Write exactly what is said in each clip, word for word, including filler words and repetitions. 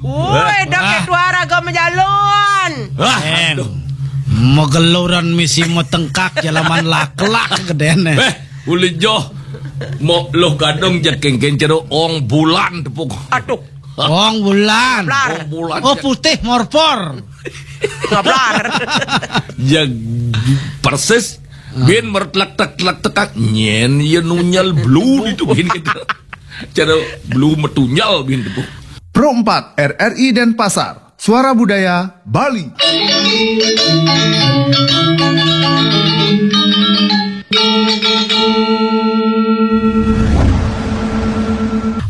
Woi, dah ketua raga majalan. Wah, aduh. Mageluran misi matengkak jalaman laklak gedene. Eh, uli joh. Mok loh gadong ja kengken cero ong bulan tepuk. Aduh. Ong bulan. Blar. Ong bulan. Oh, putih morpor. Ngablar. Ja persis. Bin mertlek tek tlek tekak nyen ya nunyal blu itu bin gitu. Cara blu metunyal bin tepuk. Pro empat R R I Denpasar, Suara Budaya Bali.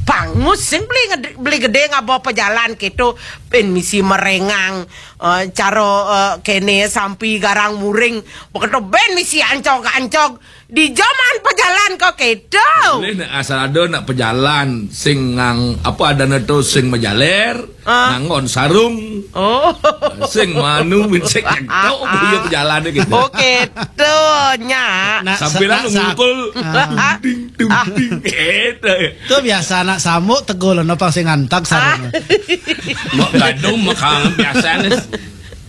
Pangus sing beli nged-, beli gede ngaba pejalan gitu, ben misi merengang, eh, caro, eh, kene sampi garang muring, beketo ben misi ancog-ancog. Di jaman pejalan kok kedo. Boleh nak asal ada nak pejalan sing ngang apa adana tu sing majaler, ah, ngangon sarung. Oh. Sing manu bin sing nyetok buya pejalan gitu. Oh, kedo nya. Nak sambil sa-, nak sa-, ngukul, ah, ding ding ding gitu. Tu biasa nak samuk tegul no pang sing antag sarung. Ah. Mok gadung mok biasa ni.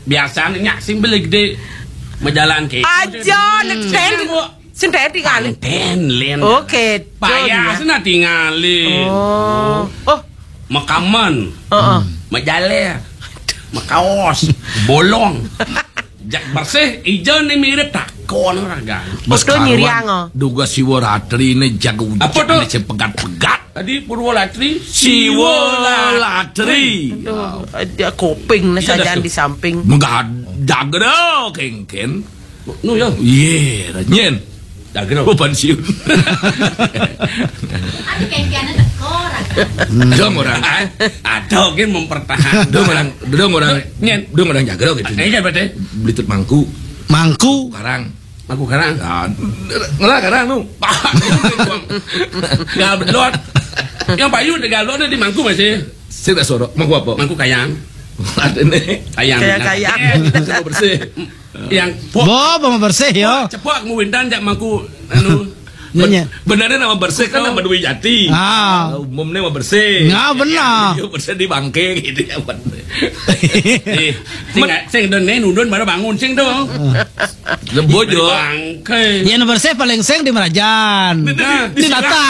Biasa ni nyak sing beli gede majalan ke. Aja, hmm, nek ten. Sing tadi kan. Ten, Lin. Oke, payah sana tinggalin. Oh. Oh. Makaman. Heeh. Majaler. Makaos. Bolong. Jak bersih, ijo ni mirip takon orang kan. Betul nyiriang, oh. Duga siwa ratri ni jago apa tu? Ni pegat-pegat. Tadi Purwolatri, siwa latri. Aduh, ada koping na sajan di samping. Megah jaga dah, kengken. Nu ya? Ye, nyen. Jaga dah. Oh, pensiun. Ada kengkennya tekor. Dong orang. Ada mungkin mempertahankan. Dong orang, dong orang. Nyen. Dong orang jaga gitu. Eh, ya, berarti. Belitut mangku. Mangku. Karang. Mangku karang. Ah, ngelah karang tu. Gablot. Yang payu de gablot de di mangku masih. Saya tak sorok. Mangku apa? Mangku kayang. Ada ni. Kayang. Kayang, kayang. Sama bersih. Yang pok. Bo, bo bersih yo. Cepok kamu windan jak mangku anu. Nanya. Benar nama bersih kan nama Dwi Jati. Ah. Umum ni nama bersih. Nah, benar. Dia bersih di bangke gitu ya. Eh, sing, sing don nen udon baru bangun sing tu. Lebo jo. Bangke. Yang bersih paling sing di Merajan. Nah, di Nata.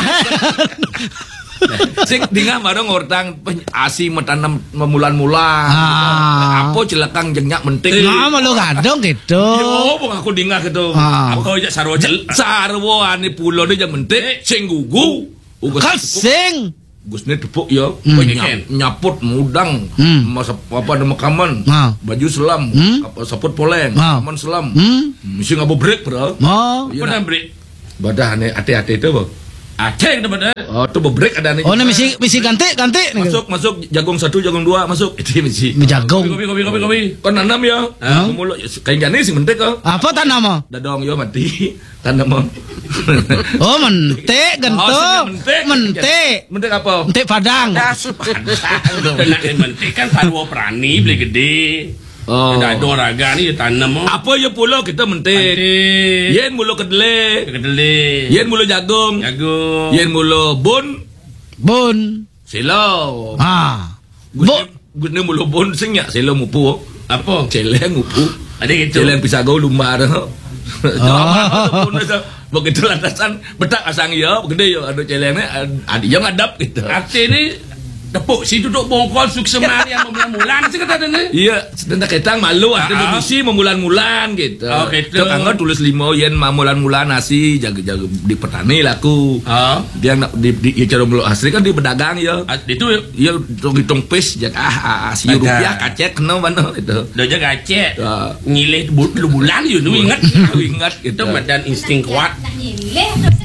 Sing dingah baru ngortang peny-, asi metanem memulan-mulan. Ah. Apa celakang jengnya mentik. Nah, malu gadong gitu. Yo, bang aku dingah gitu. Ah. Apa aja sarwa cel-, sarwa ane pulo dia mentik, sing gugu. Ugas kan sing. Gus ni tepuk ya. Hmm. Nyap-, nyaput mudang. Hmm. Masa apa ada makaman. Ha. Baju selam. Hmm. Apa saput poleng. Ha. Makaman selam. Hmm. Mesti ngabo break, bro. Oh. Iya, apa nak break? Badah ni ate-ate tu, bro. Ate tu badah. Oh, tu break ada ni. Oh, ni mesti, mesti ganti, ganti ni. Masuk, masuk jagung satu, jagung dua, masuk. Itu mesti. Jagung. Kopi, kopi, kopi, kopi. Kau nanam ya? Ha? Mulut kain jani sih mentik kau. Apa tanam, ah? Dadong yo mati. Tanam, ah. Oh, mentik, gento. Oh, mentik. Mentik. Mentik apa? Mentik Padang. Padang. Kena mentik kan sarwa prani beli gede. Oh. Dadong raga ni tanam, ah. Apa ya pulo kita mentik? Mentik. Yen mulo kedele. Kedele. Yen mulo jagung. Jagung. Yen mulo bun. Bun. Silo. Ha. Gus ni, Gus ni mulo bun sing ya, silo mupu. Apa? Celeng mupu. Ada gitu. Celeng pisagau lumbar. Begitu lantasan betak asang ya, gede ya, anu celeng ni, ad-, ada yang ngadap gitu. Arti ni tepuk si duduk bongkol suksema yang memulan-mulan sih kata ni. Iya, sedang ketang malu ada bisi memulan-mulan gitu. Oh, gitu. Tok anggo tulis lima yen memulan-mulan nasi jaga-jaga di petani laku. Oh. Dia nak di, di, ya, cara mulut asli kan dia berdagang ya. Ah, itu ya. Ya, hitung-hitung pis, jak, ah, ah, ah, si rupiah kacek kena mana itu. Dah jaga kacek. Ya. Ngilih bu-, lu bulan you, nu ingat. Lu ingat gitu. Itu madan insting kuat.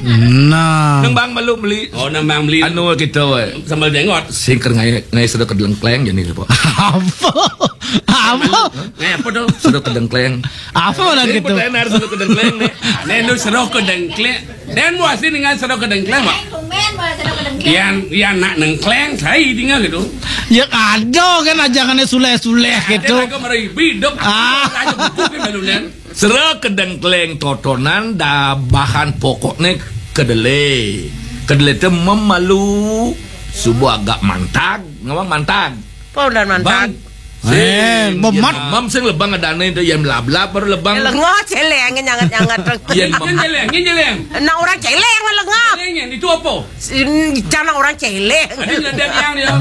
Nah. Nang bang malu beli. Oh, nang bang beli. Anu kita, weh. Sambal jenggot. Singker ngai, ngai sudah kedengkleng jadi apa? Apa? Apa? Ngai apa tu? Sudah kedengkleng. Apa mana gitu? Pertanyaan sudah kedengkleng ni. Nen tu sudah kedengkleng. Dan muasin dengan sero kedengkleng, Mak. Tumben bawa sero kedengkleng. Yang, yang nak nengkleng, saya tinggal gitu. Ya ada kan ajangannya suleh-suleh gitu. Ada lagu meribi, dok. Ah. Ada buku kan baru, Nen. Sero kedengkleng totonan da bahan pokoknya kedele. Kedele tu memalu subuh agak mantag, ngomong mantag. Apa udah mantap? Bang. Eh, sing, memat. Yen Mam sing lebang adané itu, yen melablab baru lebang. Lengo céléng nyanget-nyanget. Yen mem- Yen céléng, yen céléng. Nah, orang céléng mah lengo. Céléng yen itu apa? Sin- Jangan orang céléng. Ada nyeledek yang dia.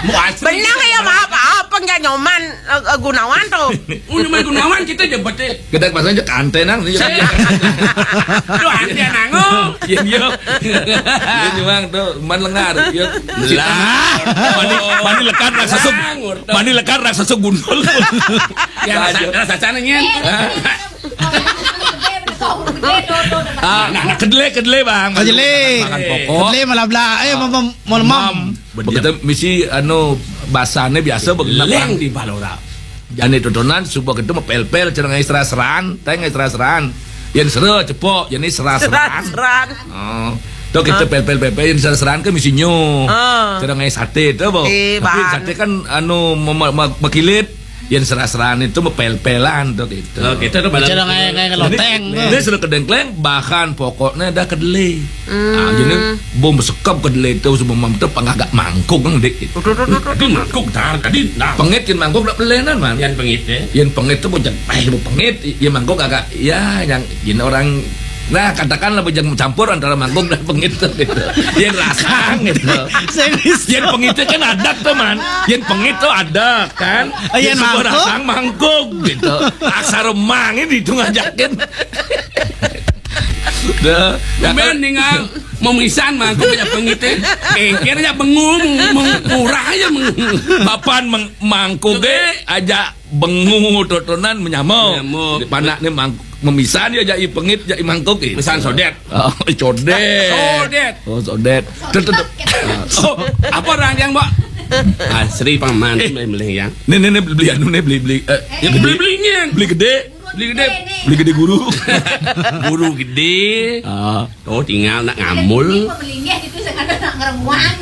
Mau asli. Benar ya, maaf, apa nggak Nyoman, eh, eh, Gunawan tuh? Oh, Nyoman Gunawan kita jabatnya. Kita pasang aja kantenan nih. Saya. Tuh, antian nango. Iya, iya. Iya, nyuang tuh, man lengar. Iya. Lah. Mani, mani lekat raksasa. Mani lekat raksasa gundul. Ya, rasa, rasa canengnya. Ah, nah, nah, kedele, kedele, Bang. Kedele. Makan pokok. Kedele malah belah. Eh, mem-, mem-, melemam. Begitu misi anu basane biasa begitu. Leng di Balora. Jane dodonan subuh itu mepel-pel jenenge seras-seran, teng seras-seran. Yen sera cepok, yen seras-seran. Seras-seran. Oh. Tuh kita pel-pel-pel yen seras-seran ke misi nyo. Ah. Jenenge sate itu, Bu. Eh, tapi sate kan anu mem- mem- mekilit, yen seras-seran itu mepel-pelan tuh gitu. Oh, kita tuh Cara kayak kayak loteng tuh. Ini sudah kedengkleng, bahan pokoknya ada kedele. Ah, jadi bom sekep kedele itu sebelum itu pengagak mangkuk kan dik. Tapi mangkuk tar tadi nah. Pengit yen mangkuk dak pelenan man. Yang pengit ya. Yen pengit itu bocah eh bu pengit, yen mangkuk agak ya yang yen orang nah katakanlah bujang campur antara mangkuk dan pengit tuh gitu. Yen rasang gitu. Serius. Yen pengit itu kan adak tuh man. Yen pengit tuh adak kan. Oh, yen mangkuk? Rasang mangkuk gitu. Aksara mang ini dihitung ajakin. Dah. Kemudian ningal memisan mangkuk aja pengite. Engker aja bengu meng- meng- murah aja meng- Papan meng- mangkuke aja bengu totonan menyamo. Menyamo. Di panak ni mangkuk memisan ya jai pengit jai mangkuk eh. Misan sodet. Oh, codet. Sodet. Oh, sodet. Tuh, tuh, tuh. Oh, apa orang yang, Mbak? Asri paman eh. Beli yang. Ni ni ni beli anu ni beli beli eh, ya, beli beli beli gede. Beli gede. Beli gede guru. Guru gede. Ah. Oh, tinggal nak ngamul. Melinggih gitu, sekarang nak ngeremuan.